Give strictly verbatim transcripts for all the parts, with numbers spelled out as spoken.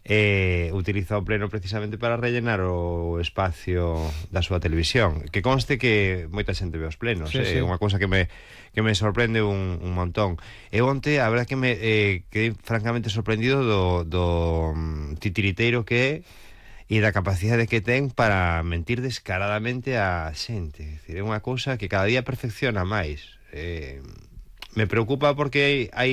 eh, utiliza o pleno precisamente para rellenar o espacio da súa televisión. Que conste que moita xente ve os plenos, Sí, é eh? sí. unha cousa que me, que me sorprende un, un montón. E onte, a verdad que me eh, quedei francamente sorprendido do, do um, titiriteiro que é e da capacidade que ten para mentir descaradamente a xente. É dicir, é unha cousa que cada día perfecciona máis. Eh, me preocupa porque hai, hai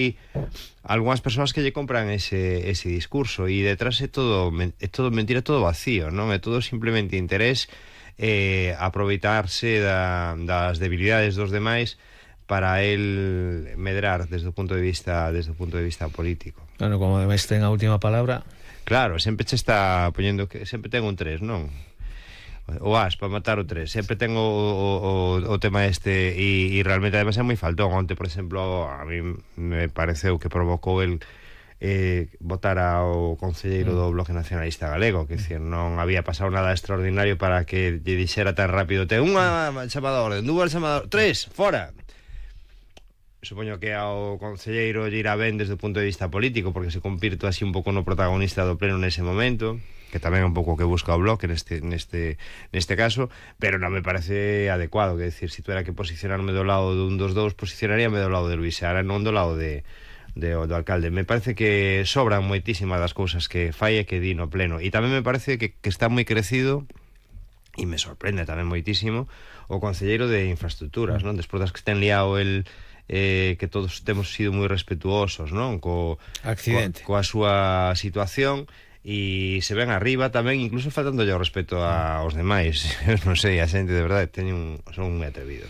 algunhas persoas que lle compran ese, ese discurso e detrás é todo, é todo mentira, é todo vacío, non? É todo simplemente interés, eh, aproveitarse da, das debilidades dos demais para el medrar desde o punto de vista desde o punto de vista político. Bueno, como ademais ten a última palabra. Claro, sempre che está poñendo que sempre ten un tres, non? O as para matar o tres. Sempre ten o, o, o tema este e, e realmente además é moi faltón. Onte, por exemplo, a mí me pareceu que provocou el eh, votar ao concelleiro do Bloque Nacionalista Galego, que dicir, non había pasado nada extraordinario para que lle dixera tan rápido: ten unha chamada a orden, dúas chamadas, tres, fora. Supoño que ao concelleiro lle irá ben desde o punto de vista político, porque se convirto así un pouco no protagonista do pleno nese momento, que tamén é un pouco o que busca o Bloque neste, neste, neste caso, pero non me parece adecuado. Que decir, se tuera que posicionarme do lado dun dos dous, posicionaríame do lado de Luís Seara, non do lado de, de, do alcalde. Me parece que sobran moitísimas das cousas que fai e que di no pleno, e tamén me parece que, que está moi crecido, e me sorprende tamén moitísimo, o concelleiro de infraestructuras, non? Despois das que ten liado el... Eh, que todos temos sido moi respetuosos, non? Co, accidente. Co, coa súa situación, e se ven arriba tamén, incluso faltándolle o respeto aos demais. Non sei, a xente de verdade teñen, son moi atrevidos.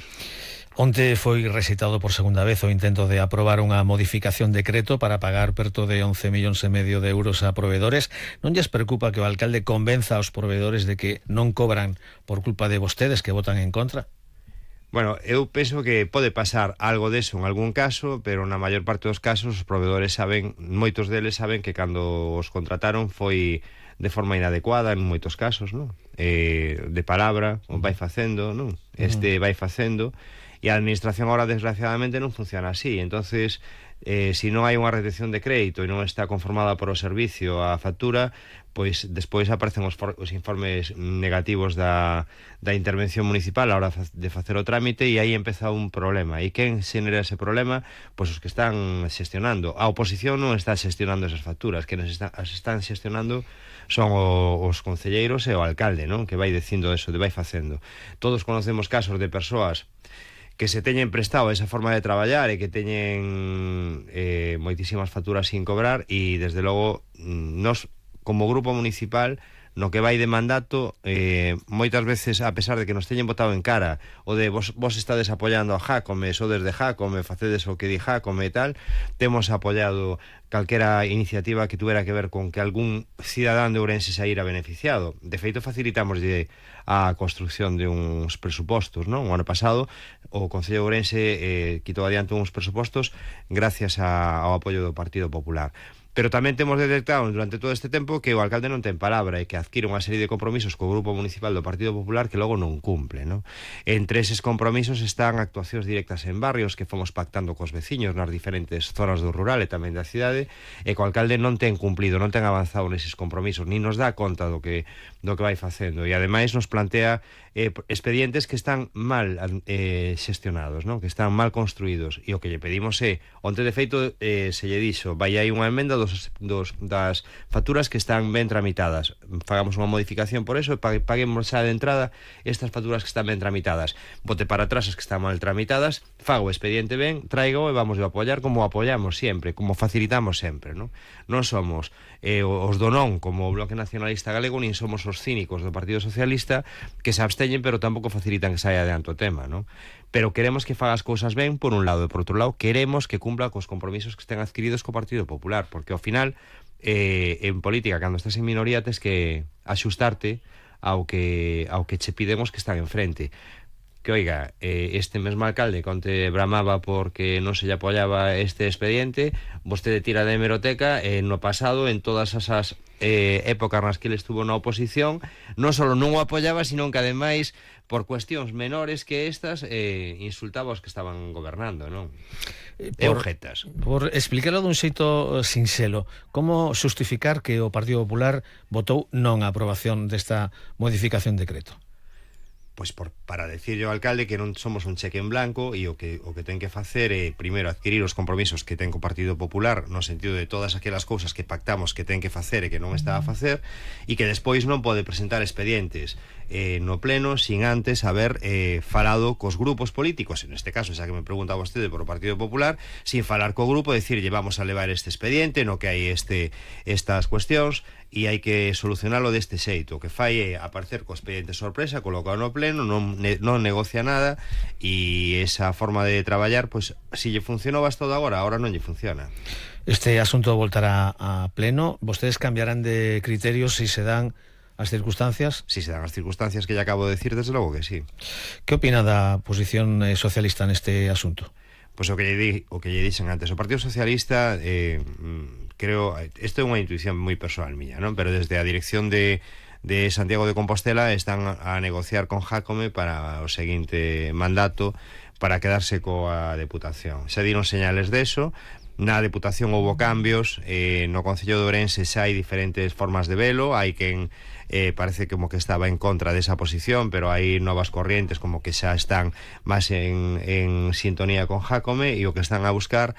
Onte foi recitado por segunda vez o intento de aprobar unha modificación de decreto para pagar perto de once millóns e medio de euros a provedores. Non lles preocupa que o alcalde convenza aos provedores de que non cobran por culpa de vostedes que votan en contra? Bueno, eu penso que pode pasar algo deso en algún caso, pero na maior parte dos casos os provedores saben, moitos deles saben que cando os contrataron foi de forma inadecuada en moitos casos, non? Eh, de palabra, o vai facendo, non? Este vai facendo, e a administración ahora desgraciadamente non funciona así. Entonces, eh, se non hai unha retención de crédito e non está conformada por o servicio a factura, pois despois aparecen os, for, os informes negativos da, da intervención municipal a hora de facer o trámite, e aí empeza un problema. E quen xenera ese problema? Pois os que están xestionando. A oposición non está xestionando esas facturas, que nos está, as están xestionando son o, os concelleiros e o alcalde, non? Que vai dicindo eso, de vai facendo. Todos conocemos casos de persoas que se teñen prestado esa forma de traballar e que teñen eh, moitísimas facturas sin cobrar, e desde logo nos, como grupo municipal, no que vai de mandato, eh, moitas veces, a pesar de que nos teñen botado en cara o de vos, vos estades apoiando a Jácome, sodes de Jácome, facedes o que di Jácome e tal, temos apoiado calquera iniciativa que tuviera que ver con que algún cidadán de Ourense saíra beneficiado. De feito, facilitamos a construcción de uns presupostos, non? O ano pasado o Concello de Ourense eh, quitou adiante uns presupostos gracias a, ao apoio do Partido Popular. Pero tamén temos detectado durante todo este tempo que o alcalde non ten palabra e que adquire unha serie de compromisos co Grupo Municipal do Partido Popular que logo non cumple, non? Entre eses compromisos están actuacións directas en barrios que fomos pactando cos veciños nas diferentes zonas do rural e tamén da cidade, e co alcalde non ten cumplido, non ten avanzado neses compromisos, ni nos dá conta do que do que vai facendo, e ademais nos plantea eh, expedientes que están mal eh, xestionados, non? Que están mal construídos, e o que lle pedimos é, onte de feito eh, se lle dixo, vai hai unha emenda dos, dos, das facturas que están ben tramitadas, fagamos unha modificación por eso e paguemos xa de entrada estas facturas que están ben tramitadas, bote para atrás as que están mal tramitadas, fago o expediente ben, traigo e vamos a apoiar como apoiamos sempre, como facilitamos sempre, non? Non somos eh, os do non como o Bloque Nacionalista Galego, nin somos os cínicos do Partido Socialista que se absteñen pero tampouco facilitan que saia adiante o tema, non? Pero queremos que faga as cousas ben por un lado, e por outro lado queremos que cumpla cos compromisos que estén adquiridos co Partido Popular, porque ao final eh, en política, cando estás en minoría, tes que axustarte ao que, ao que che pidemos que están enfrente. que, oiga, eh, este mesmo alcalde conte bramaba porque non se lle apoyaba este expediente, vostede tira de hemeroteca, eh, no pasado, en todas esas eh, épocas nas que ele estuvo na oposición, non só non o apoyaba, sino que ademais, por cuestións menores que estas, eh, insultaba os que estaban gobernando, non? E objetas. Por explicarlo dun xeito sinxelo, como xustificar que o Partido Popular votou non a aprobación desta modificación de decreto? Pois por, para decirle ao alcalde que non somos un cheque en blanco e o que o que ten que facer é primeiro adquirir os compromisos que ten co Partido Popular no sentido de todas aquelas cousas que pactamos que ten que facer e que non está a facer, e que despois non pode presentar expedientes eh, no pleno sin antes haber eh, falado cos grupos políticos, en este caso, xa que me pregunta vostede por o Partido Popular, sin falar co grupo, decirlle vamos a levar este expediente no que hai este estas cuestións e hai que solucionalo deste xeito. O que fai é aparecer co expediente sorpresa, colocado no pleno, non, ne, non negocia nada, e esa forma de traballar, pois, si lle funcionou hasta agora, agora non lle funciona. Este asunto voltará a pleno. Vostedes cambiarán de criterios si se dan as circunstancias? Si se dan as circunstancias que lle acabo de decir, desde logo que sí. Que opina da posición eh, socialista neste asunto? Pois o que lle di, o que lle dixen antes, o Partido Socialista, eh, creo, isto é unha intuición moi persoal miña, non? Pero desde a dirección de de Santiago de Compostela están a negociar con Jácome para o seguinte mandato para quedarse coa Deputación. Se diron señales deso. Na Deputación houbo cambios, eh, no Concello de Ourense xa hai diferentes formas de velo, hai quen eh, parece como que estaba en contra desa posición, pero hai novas corrientes como que xa están máis en, en sintonía con Jácome, e o que están a buscar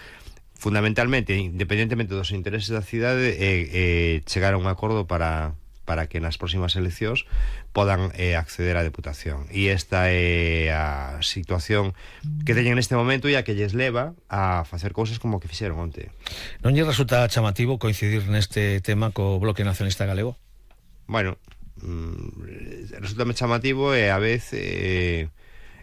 fundamentalmente, independentemente dos intereses da cidade, é eh, eh, chegar a un acordo para para que nas próximas eleccións podan eh, acceder á Deputación. E esta é a situación que teñen neste momento e a que lles leva a facer cousas como que fixeron onte. Non lle resulta chamativo coincidir neste tema co Bloque Nacionalista Galego? Bueno, mm, resulta chamativo e a vez eh,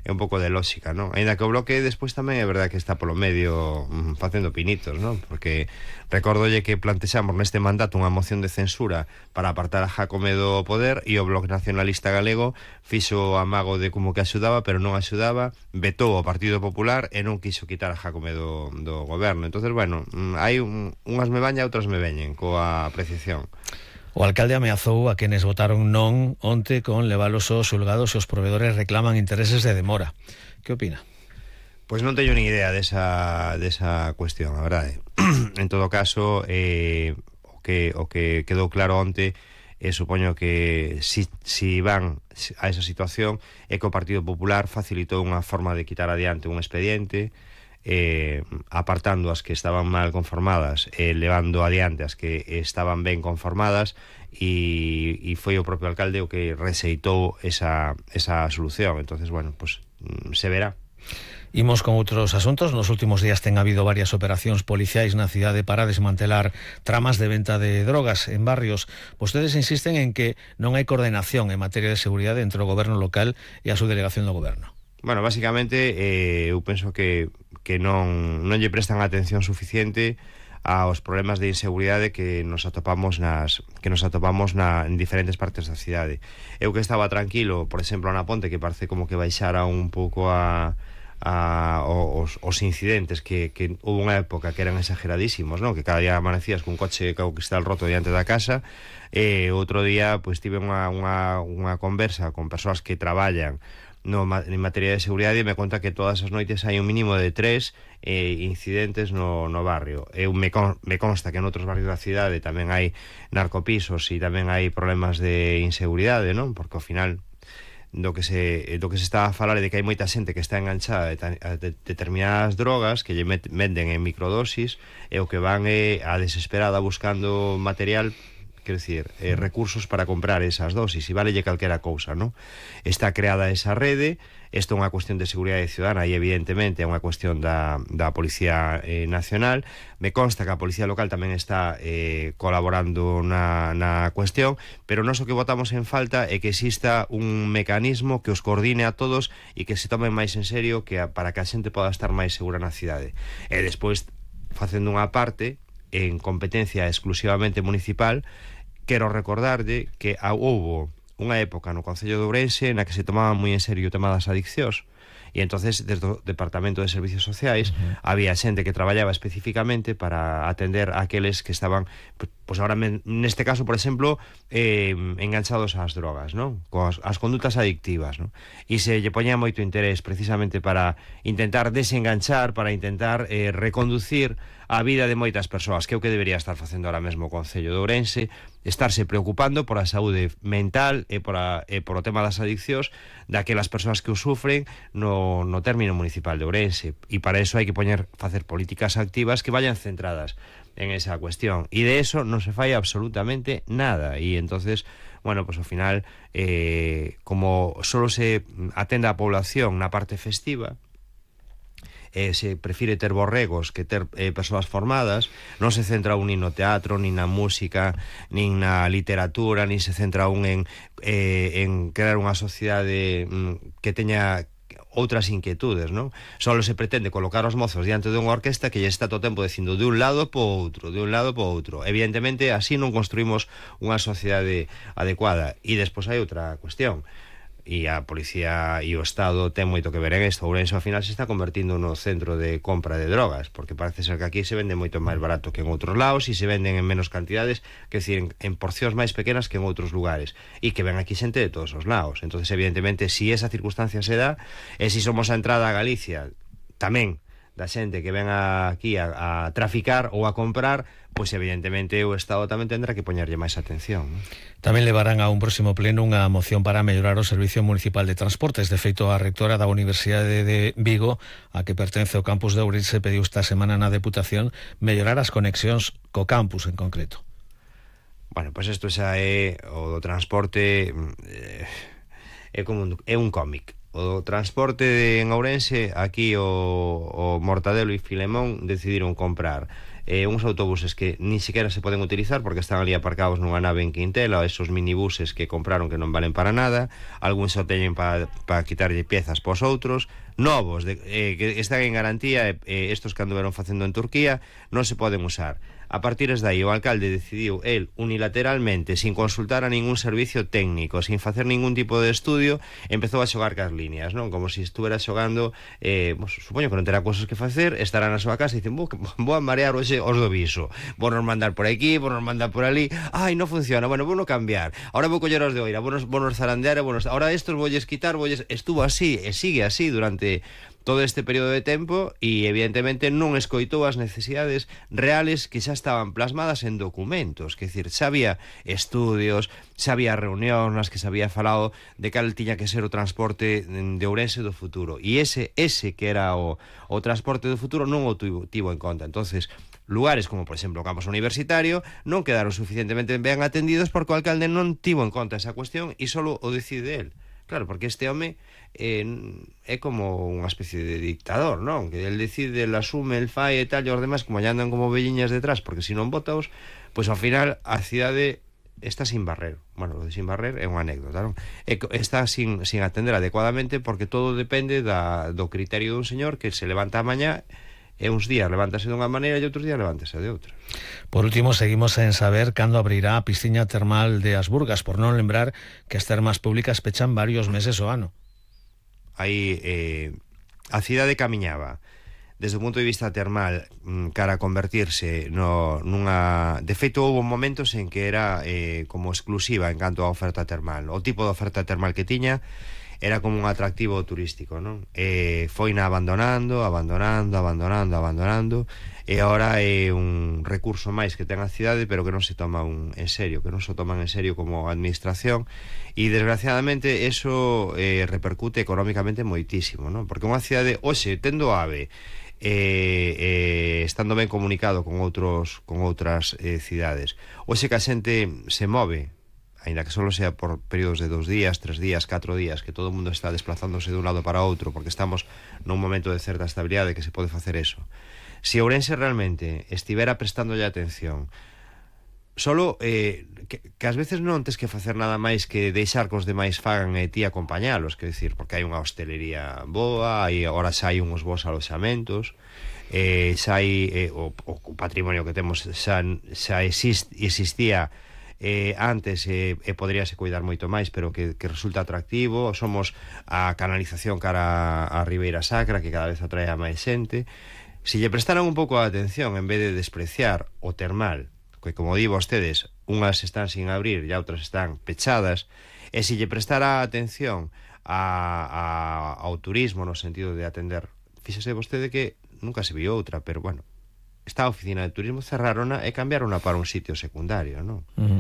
é un pouco de lógica, non? Ainda que o Bloque despois tamén é verdad que está polo medio mm, facendo pinitos, non? Porque recórdolle que plantexamos neste mandato unha moción de censura para apartar a Jácome do poder, e o Bloque Nacionalista Galego fixo amago de como que axudaba, pero non axudaba, vetou o Partido Popular e non quiso quitar a Jácome do, do goberno. Entonces, bueno, hai un, unhas me baña, outras me veñen coa apreciación. O alcalde ameazou a quenes votaron non onte con levalos aos xulgados se os provedores reclaman intereses de demora. Que opina? Pois non teño nin idea desa, desa cuestión, a verdade. En todo caso, eh, o, que, o que quedou claro onte, eh, supoño que si, si van a esa situación é que o Partido Popular facilitou unha forma de quitar adiante un expediente, eh, apartando as que estaban mal conformadas e eh, levando adiante as que estaban ben conformadas, e, e foi o propio alcalde o que rexeitou esa, esa solución. Entonces, bueno, pues se verá. Imos con outros asuntos. Nos últimos días ten habido varias operacións policiais na cidade para desmantelar tramas de venta de drogas en barrios. Vostedes insisten en que non hai coordenación en materia de seguridade entre o goberno local e a subdelegación do goberno. Bueno, básicamente, eh, eu penso que, que non, non lle prestan atención suficiente aos problemas de inseguridade que nos atopamos nas que nos atopamos na, en diferentes partes da cidade. Eu que estaba tranquilo, por exemplo, na Ponte, que parece como que baixara un pouco a, a os, os incidentes que, que houve unha época que eran exageradísimos, non? Que cada día amanecías cun coche co cristal roto diante da casa, e outro día pois tive unha, unha, unha conversa con persoas que traballan no, en materia de seguridade, e me conta que todas as noites hai un mínimo de tres eh, incidentes no, no barrio. Eu me, con, me consta que en outros barrios da cidade tamén hai narcopisos e tamén hai problemas de inseguridade, non? Porque ao final do que se do que se está a falar é de que hai moita xente que está enganchada a de, de, determinadas drogas que lle met, venden en microdosis, e o que van é a desesperada buscando material, quero dicir, eh, recursos para comprar esas dosis, e valelle calquera cousa, non? Está creada esa rede. Isto é unha cuestión de seguridade ciudadana e evidentemente é unha cuestión da, da Policía eh, Nacional. Me consta que a Policía Local tamén está eh, colaborando na, na cuestión, pero nós o que botamos en falta é que exista un mecanismo que os coordine a todos e que se tomen máis en serio, que a, para que a xente poda estar máis segura na cidade. E despois, facendo unha parte en competencia exclusivamente municipal, quero recordarlle que houbo unha época no Concello de Ourense na que se tomaba moi en serio o tema das adiccións, E entonces desde o Departamento de Servicios Sociais uh-huh. había xente que traballaba especificamente para atender a aqueles que estaban, pois agora neste caso, por exemplo, eh, enganchados ás drogas, non? Coas as condutas adictivas, non? E se lle poñía moito interés precisamente para intentar desenganchar, para intentar eh, reconducir a vida de moitas persoas, que é o que debería estar facendo ahora mesmo o Concello de Ourense, estarse preocupando por a saúde mental e por, a, e por o tema das adiccións daquelas persoas que o sufren no, no término municipal de Ourense. E para eso hai que poñer, facer políticas activas que vayan centradas en esa cuestión. E de eso non se fai absolutamente nada. E entonces, bueno, pues ao final, eh, como solo se atende a población na parte festiva, Eh, se prefire ter borregos que ter eh, persoas formadas, non se centra un nin no teatro, nin na música, nin na literatura, nin se centra un en, eh, en crear unha sociedade mm, que teña outras inquietudes, non? Solo se pretende colocar os mozos diante dunha orquesta que lle está todo o tempo dicindo de un lado po outro, de un lado po outro. Evidentemente, así non construímos unha sociedade adecuada. E despois hai outra cuestión. E a policía e o Estado ten moito que ver en isto. Ourense ao final se está convertindo no centro de compra de drogas, porque parece ser que aquí se vende moito máis barato que en outros lados e se venden en menos cantidades, que decir, en, en porcións máis pequenas que en outros lugares, e que ven aquí xente de todos os lados. Entonces, evidentemente, si esa circunstancia se dá, e si somos a entrada a Galicia tamén da xente que ven aquí a, a traficar ou a comprar, pois evidentemente o Estado tamén tendrá que poñerlle máis atención, non? Tamén levarán a un próximo pleno unha moción para mellorar o Servicio Municipal de Transportes. De feito, a rectora da Universidade de Vigo, a que pertence o campus de Ourense, pediu esta semana na Deputación mellorar as conexións co campus en concreto. Bueno, pois isto xa é o do transporte, eh, é como un, é un cómic. O transporte en Ourense, aquí o, o Mortadelo e Filemón decidiron comprar eh, uns autobuses que ni siquiera se poden utilizar porque están ali aparcados nunha nave en Quintela, esos minibuses que compraron que non valen para nada, algúns só teñen para pa quitarlle piezas pos outros, novos, de, eh, que están en garantía, eh, estos que anduveron facendo en Turquía, non se poden usar. A partir de aí o alcalde decidiu el unilateralmente, sin consultar a ningún servicio técnico, sin facer ningún tipo de estudio, empezou a xogar cas líneas, non? Como se si estuvera xogando, eh, pues, supoño que non terá cosas que facer, estará na súa casa e dicen, vou, vou a marear hoxe os do viso, vou nos mandar por aquí, vou nos mandar por ali, ai, non funciona, bueno, vou no cambiar, ahora vou coller os de oira, vou nos, vou nos zarandear, vou nos, ahora estos voulles quitar, voulles, estuvo así, e sigue así durante todo este período de tempo e evidentemente non escoitou as necesidades reales que xa estaban plasmadas en documentos, que decir, xa había estudios, xa había reunións nas que se había falado de cal tiña que ser o transporte de Ourense do futuro, e ese ese que era o, o transporte do futuro non o tivo, tivo en conta. Entonces, lugares como, por exemplo, o campus universitario non quedaron suficientemente ben atendidos porque o alcalde non tivo en conta esa cuestión e solo o decide el. Claro, porque este home eh, é como unha especie de dictador, non? Que el decide, el asume, el fai e tal, e os demais como ya andan como velliñas detrás, porque se non votaos, pois ao final a cidade está sin barrer. Bueno, lo de sin barrer é unha anécdota, non? Está sin, sin atender adecuadamente porque todo depende da, do criterio dun señor que se levanta a mañá e uns días levántase dunha maneira e outros días levántase de outra. Por último, seguimos en saber cando abrirá a piscina termal de Asburgas, por non lembrar que as termas públicas pechan varios meses o ano. Aí eh, a cidade camiñaba desde o punto de vista termal cara a convertirse no, nunha... De feito, houve momentos en que era eh, como exclusiva en canto a oferta termal. O tipo de oferta termal que tiña era como un atractivo turístico, non? E foina abandonando, abandonando, abandonando, abandonando, e agora é un recurso máis que ten a cidade, pero que non se toma un, en serio, que non se toman en serio como administración, e desgraciadamente eso eh, repercute económicamente moitísimo, non? Porque unha cidade, hoxe, tendo AVE, eh, eh, estando ben comunicado con outros con outras eh, cidades, hoxe que a xente se move, aínda que solo sea por períodos de dos días, tres días, catro días, que todo o mundo está desplazándose de un lado para outro, porque estamos nun momento de certa estabilidade que se pode facer eso. Si Ourense realmente estivera prestándolle atención, solo eh, que, que ás veces non tes que facer nada máis que deixar que os demais fagan e ti acompañalos, que decir, porque hai unha hostelería boa, hai, agora xa hai uns bons aloxamentos, eh, xa hai eh, o, o patrimonio que temos xa, xa exist, existía eh, antes e eh, eh, poderíase cuidar moito máis, pero que, que resulta atractivo. Somos a canalización cara a Ribeira Sacra, que cada vez atrae a máis xente. Se lle prestaran un pouco de atención, en vez de despreciar o termal, que como digo vostedes, unhas están sin abrir e outras están pechadas, e se lle prestara atención a, a, ao turismo no sentido de atender, fíxese vostede que nunca se viu outra, pero bueno, esta oficina de turismo cerrarona e cambiarona para un sitio secundario, non? Uh-huh.